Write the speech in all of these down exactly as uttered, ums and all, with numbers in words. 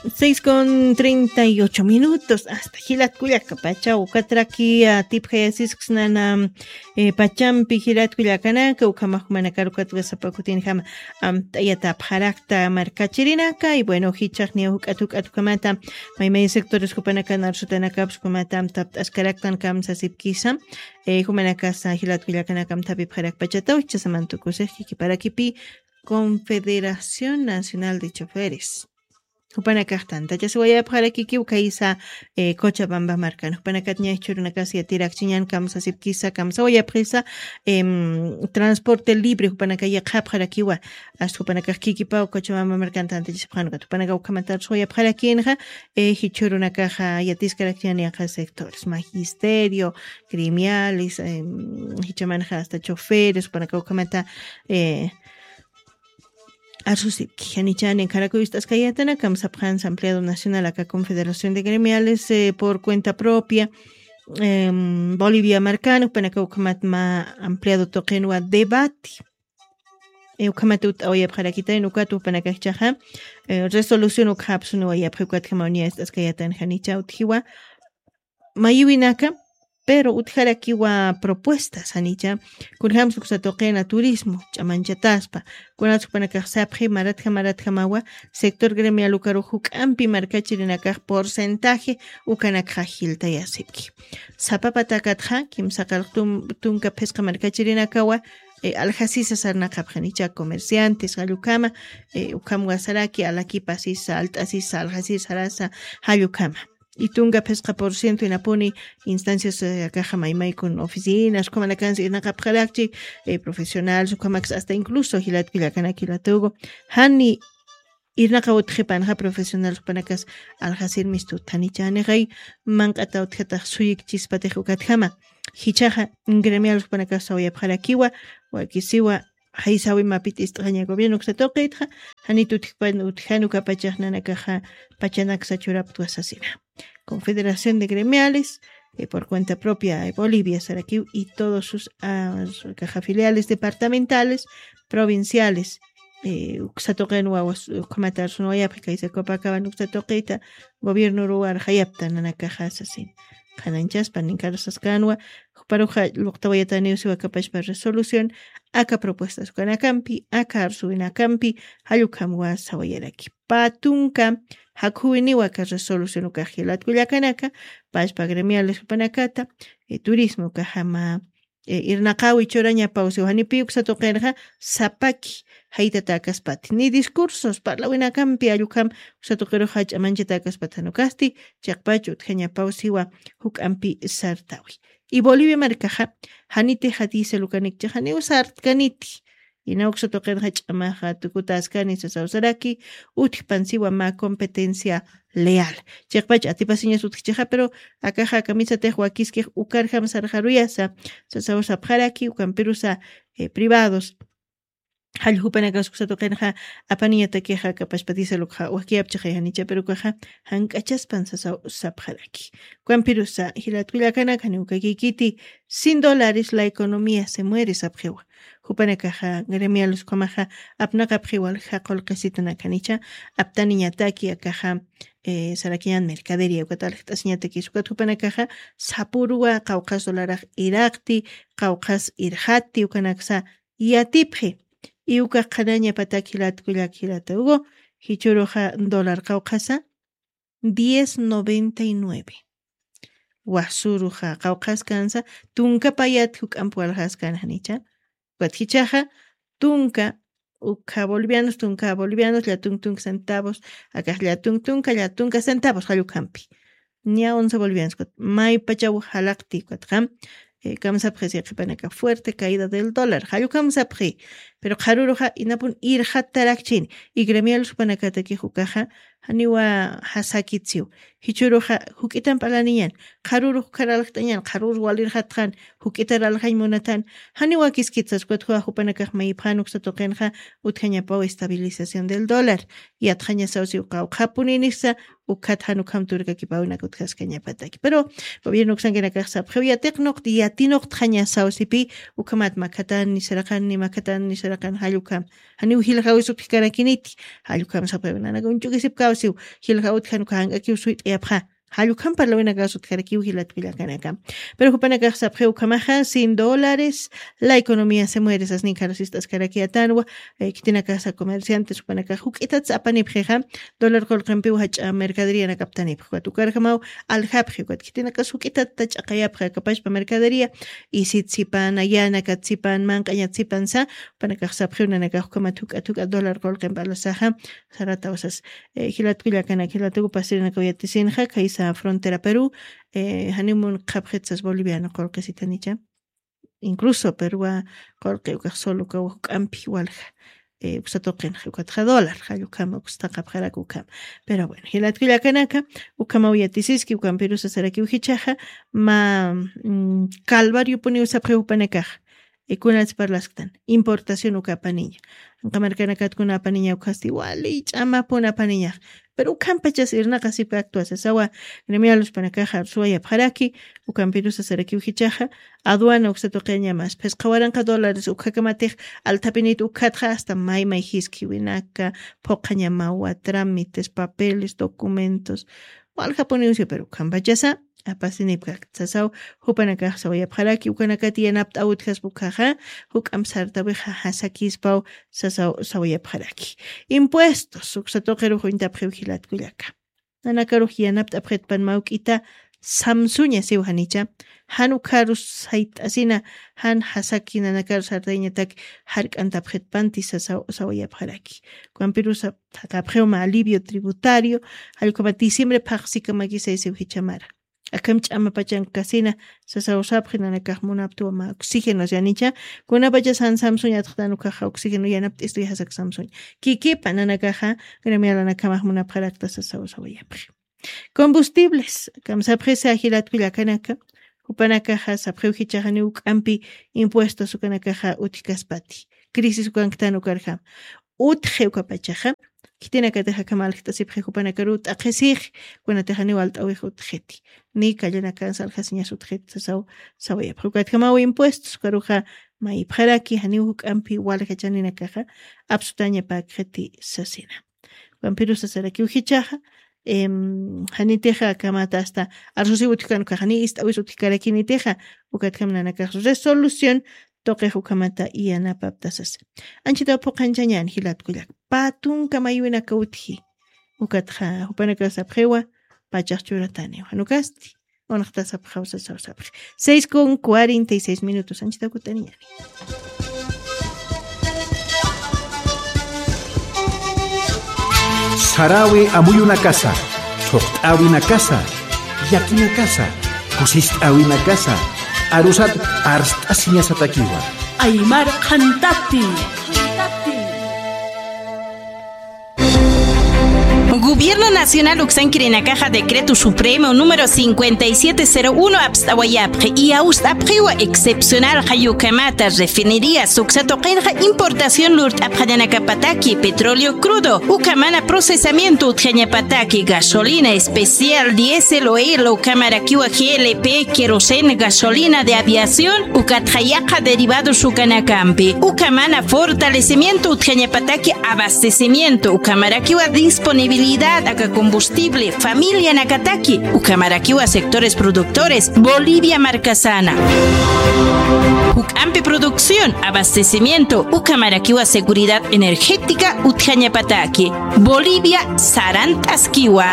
Seis con treinta y ocho minutos, hasta jilat kullaka pacha ukatraki atipjayasisksnana. Eh, pachampi jilat kullakanaka ukhamajumanakar ukatwa sapakutinjama amt'ayatapxarakta markachirinaka. Y bueno, jichaqniya juk'at juk'at ukhamata maymay sectores jupanakan arsutanakapis ukhamata amtapt'askaraktan kamsasipkisa. Eh, jumanakasa jilat kullakanaka amthapipxarakpachataw jichasamantukusix kikiparakipi Confederación Nacional de Choferes. Jupanakaxtan tachasiwayapxarakikiw kaysa, eh, Cochabamba markan jupanakatña jichhurunakasa yatirakchiñan kamsasipkisa kamsawayapxisa. Em, transporte libre jupanaka yaqhapxarakiwa. Asta jupanakax kikipaw Cochabamba markan tantachasipxanukat jupanaka ukhamantarsuwayapxarakinxa. Eh, jichhurunakaxa yatiskarakchiñan yaqha sectores magisterio, gremiales, em, jichamanxa hasta choferes jupanaka ukhamata, eh, arsusipki janichani karakuy ist'askayatana kamsapxansa ampliado nacional aka confederación de gremiales, eh, por cuenta propia. Em, bolivia markan jupanaka ukhamat ma ampliado tuqinwa debate. Eh, ukhamat ut'awayapxarakitayn ukat jupanaka jichaxa, eh, resolución ukhapsuniwayapxi ukatjama uña ist'askayatan janicha utjiwa mayiwinaka. Pero utjarakiwa propuestas janicha kunjams uksatuqina turismo ch'amanchataspa. Kunats jupanakax sapxi maratja maratjamawa sector gremial ukaru juk'ampi markachirinakax porcentaje ukanakxa jiltayasipki. Sapa patakatxa kimsaqalq tunka phisqa markachirinakawa, eh, aljasisa sarnaqapxanicha comerciantes jallukama, eh, ukhamwasaraki alakipasisa alt'asisa aljasisa sarasa jallukama. Y tunka phisqa por ciento inapuni instancias, eh, akaxa maymaykun oficinas ukhamanakansi irnaqapxarakchi, eh, profesionales ukhamaksa hasta incluso jilatkullakanak jilatugu jani irnaqaw utjipanxa profesional jupanakas aljasirmistut janicha janixay manq'ata utjatax suyikchispatix ukatjama. Jichaxa gremial jupanakas sawayapxarakiwa wakisiwa jaysawimapit ist'aña gobierno uksatuqitxa janit utjpan utjan ukapachax nanakaxa pachanaksa churaptwa sasina. Confederación de gremiales, eh, por cuenta propia, eh, bolivia sarakiw y todos sus, ah, caja filiales departamentales, provinciales, eh, uksatuqin wawas ukhamata arsunwayapxi kaysa copacaban uksatuqita gobierno ruwar jayapta nanakaxa sasin. Qhananchaspa ninkarusaskanwa juparuxa luqtawayataniw siwa kapachpa resolución aka propuestas ukanakampi aka arsuwinakampi jallukhamwa sawayaraki. Pä tunka jakhuwiniwa aka resolución ukax jilatkullakanaka pachpa gremiales jupanakata, eh, turismo ukaxama, eh, irnaqawi churañapaw siwa janipi uksatuqirxa sapaki jaytata akaspati ni discursos parlawinakampi allukham uksatuqirux jach'a manchata akaspati janukasti chiqpach utjañapaw siwa juk'ampi sartawi. Y bolivia markaxa janiti jatisa lukanikchi janiw sartkaniti. Inawksa tuqinxa ch'amaxa tukutaskani sasawsaraki utjpansiwa mä competencia leal. Chiqpach atipasiñas utjchixa pero akaxa kamisatix wakiskix ukarjam sarxaruyasa sasawsapxaraki ukampirusa, eh, privados jallujupanakas uksatuqinxa apaniñatakixa kapachpatisa lukxa wakiyapchixay janicha pero ukaxa jank'achaspan sasaw sapxaraki. Ukampirusa jilatkullakanak janiw kakikiti sin dólares la economía se muere sapxiwa. Jupanakaxa gremiales ukhamaxa apnaqapxiwal jaqulqisitanak janicha aptaniñataki akaxa, eh, sarakiñan mercadería ukat aljt'asiñatakis ukat jupanakaxa sapuruwa qawqhas dolarax iraqti qawqhas irxatti ukanaksa yatipxi. Y ukax qhanañapatak jilatkullak jilata ugu jichuruxa dólar qawqhasa diez noventa y nueve. Wasuruxa qawqhaskansa tunka payat juk'amp walxaskan janicha. Ukat jichaxa tunka ukha bolivianos tunka bolivianos llatunk tunka centavos akax llatunk tunka llatunka centavos jallukhampi. Ña once bolivianos ukat maypachaw jalaqti ukatxa, eh, kamsapxi siqipanaka fuerte caída del dólar jallukhamsapxi. Pero qharuruxa inapun irxattarakchini y gremial supanakatakix ukaxa janiwa jasakitsiw. Jichuruxa juk'itan p'alaniñan qharurux ukharalxt'añan qharurux walirxatxan juk'itaralxañ munatan. Janiwa kiskitsaskwatxwa jupanakax mayipxan uksatuqinxa utjañapaw estabilización del dólar. Yatxañasawsiw qawqhapuninixsa ukhat jan ukham turkakipawinaka utjaskañapataki pero gobierno uksankinakax sapxiw yatiqnuqti yatinuqtxañasawsipi ukhamat makhatan nisaraqan ni makhatan nisaraqan. Kan jallukam. Janiw jiljaw sutjkarakiniti. Jallukam sapxiw nanaka uñch'ukisipkaw siw. Jiljaw utjan uka jank'akiw suyt'ayapxa. Jallukam parlawinakaw sutjarakiw jilatkullakanaka. Pero jupanakax sapxiw ukhamaxa, sin dólares, la economía se muere, sasnin kharusist'askarakiyatanwa, eh, khitinakasa comerciantes jupanakax juk'itat apanipxixa, dólar qullqimpiw jach'a mercadería nakaptanipxi, ukat ukarjamaw aljapxi, ukat khitinakas juk'itat ch'aqayapxi, akapachpa mercadería, isit sipan, ayanakat sipan, manq'añat sipan sa, jupanakax sapxiw nanakax ukhamat juk'at juk'at dólar qullqimp alasaxa, sarataw sas, eh, jilatkullakanaka, jilatuku pasirinakaw yatisinxa, khaysa frontera Perú, eh, janimun qhapxit sas boliviano qullqisitanicha. Incluso Perúwa qullqi ukax solo ukaw juk'ampi walja, eh, uksa tuqinxa, ukatxa dólar, jallukama, uksa taqapxarak ukhama. Pero bueno, jilatkullakanaka, ukhamaw yatisiski, ukampirusa sarakiw jichhaxa, mä, mm, calvariopuniw sapxi jupanakaxa. Eh, kunats parlasktan, importación uka apaniña. Anqa markanakatkuna apaniña ukhasti, wali ch'amapun apaniñax. Pero ukhampachas irnaqasipkakta sasawa, gremialuspanakaxa suwayapxaraki, ukampirusa sarakiw jichhaxa, aduana uksa tuqiñamas, phisqa waranqa dólares ukhakamatix, althapinit ukhatxa hasta may may jiskiwinaka, phuqhañamawa, trámites, papeles, documentos, waljapuniw si, pero ukhampachasa, apasinipkakta sasaw, jupanakax sawayapxaraki, ukanakati yanapt'aw utjaspa ukhaxa, juk'amp sartawixa jasakispaw, sasaw, sawayapxaraki. Impuestos, uksa tuqirux uñtapxiw jilatkullaka. Nanakarux yanapt'apxitpan mä juk'ita, samsuña siw janicha, jan ukharus sayt'asina, jan jasaki nanakaru sartayañatak jark'antapxitpanti sasaw, sawayapxaraki. Ukampirusa thaqapxiw mä alivio tributario, jallukama diciembre phaxsikamaki saysiw jichhamara. Akham ch'amapachan kasina, sasaw sapxi nanakax munaptwa mä oxígenos yanicha, kunapachas jan samsuña atxtan ukaxa oxígeno yanapt'istu jasak samsuña. Kikipa nanakaxa, gremialanakamax munapxarakta sasaw sawayapxi. Combustibles, kamsapxisa jilatkullakanaka, jupanakaxa sapxiw jichhaxa janiw juk'ampi impuestos ukanakaxa utjkaspati. Crisis ukanktan ukarjam. Utji ukapachaxa, khitinakatixa akham aljt'asipxi jupanakaru t'aqhisix, kunatix janiw alt'awix utjiti. Ni kallanakan saljasiñas utjiti sasaw, sawayapxi. Ukatjamaw impuestos, ukaruxa mayipxaraki, janiw juk'ampi walja chaninakaxa, apsutañapäkxiti sasina. Ukampirusa sarakiw jichhaxa, em, janitixa akham hasta arsusiw utjkan ukaxa, janiw ist'awis utjkarakinitixa, ukatjam nanakax resolución, tuqix ukhamata yanapapta sasa. Anchitaw phuqanchañän jilatkullaka. Pä tunka mayuwinaka utji. Ukatxa jupanakax sapxiwa, pachax churataniwa. Jan ukasti. Unxta sapxaw sasaw sapxi. Seis con cuarenta y seis minutos. Anchitaw kutaniñäni. Saräwi amuyunakasa, thuqt'äwinakasa, llakinakasa, kusist'äwinakasa, arusat arst'asiñasatakiwa. Aymar qhantati. Gobierno Nacional uksankirinakaxa Decreto Supremo número cincuenta y siete cero uno apst'awayapxi, iyawst'apxiwa excepcional jayukamata refinerías uksa tuqinxa importación lurt'apxañanakapataki petróleo crudo, ukamana procesamiento utjañapataki gasolina especial, diésel, oil, ukamarakiwa G L P, queroseno, gasolina de aviación, ukatxa yaqha derivados ukanakampi, ukamana fortalecimiento utjañapataki abastecimiento, ukamarakiwa disponibilidad aka combustible, familianakataki, ukamarakiwa sectores productores, Bolivia markasana. Juk'ampi producción, abastecimiento, ukamarakiwa seguridad energética utjañapataki. Bolivia sarant'askiwa.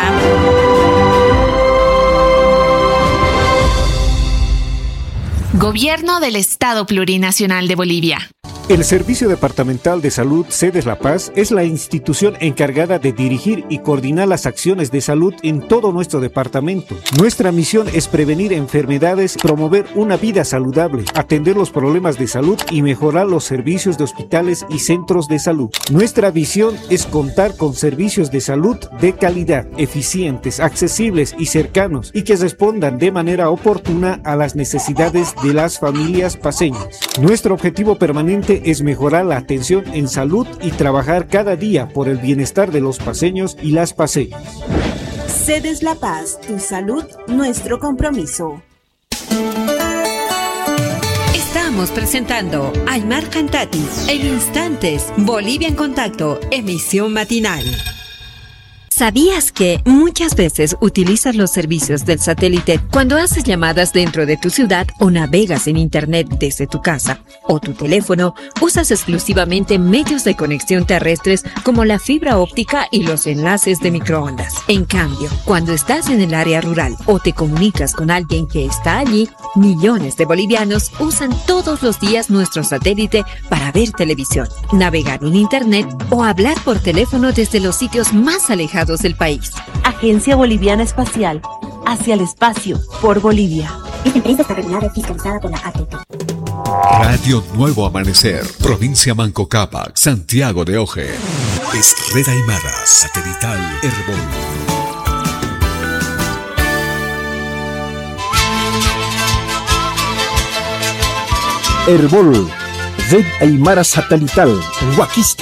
Gobierno del Estado Plurinacional de Bolivia. El Servicio Departamental de Salud Sedes La Paz es la institución encargada de dirigir y coordinar las acciones de salud en todo nuestro departamento. Nuestra misión es prevenir enfermedades, promover una vida saludable, atender los problemas de salud y mejorar los servicios de hospitales y centros de salud. Nuestra visión es contar con servicios de salud de calidad, eficientes, accesibles y cercanos, y que respondan de manera oportuna a las necesidades de las familias paceñas. Nuestro objetivo permanente es mejorar la atención en salud y trabajar cada día por el bienestar de los paceños y las paceñas. Sedes La Paz, tu salud, nuestro compromiso. Estamos Estamos presentando Aymar Cantati en instantes, Bolivia en Contacto, emisión matinal. ¿Sabías que muchas veces utilizas los servicios del satélite cuando haces llamadas dentro de tu ciudad o navegas en internet desde tu casa o tu teléfono? Usas exclusivamente medios de conexión terrestres como la fibra óptica y los enlaces de microondas. En cambio, cuando estás en el área rural o te comunicas con alguien que está allí, millones de bolivianos usan todos los días nuestro satélite para ver televisión, navegar en internet o hablar por teléfono desde los sitios más alejados del país. Agencia Boliviana Espacial, hacia el espacio, por Bolivia. Esta empresa está regulada y fiscalizada por la A T T. Radio Nuevo Amanecer, provincia Manco Cápac, Santiago de Oje. Es Red Aymara, satelital Erbol. Erbol, Red Aymara Satelital, Wakista.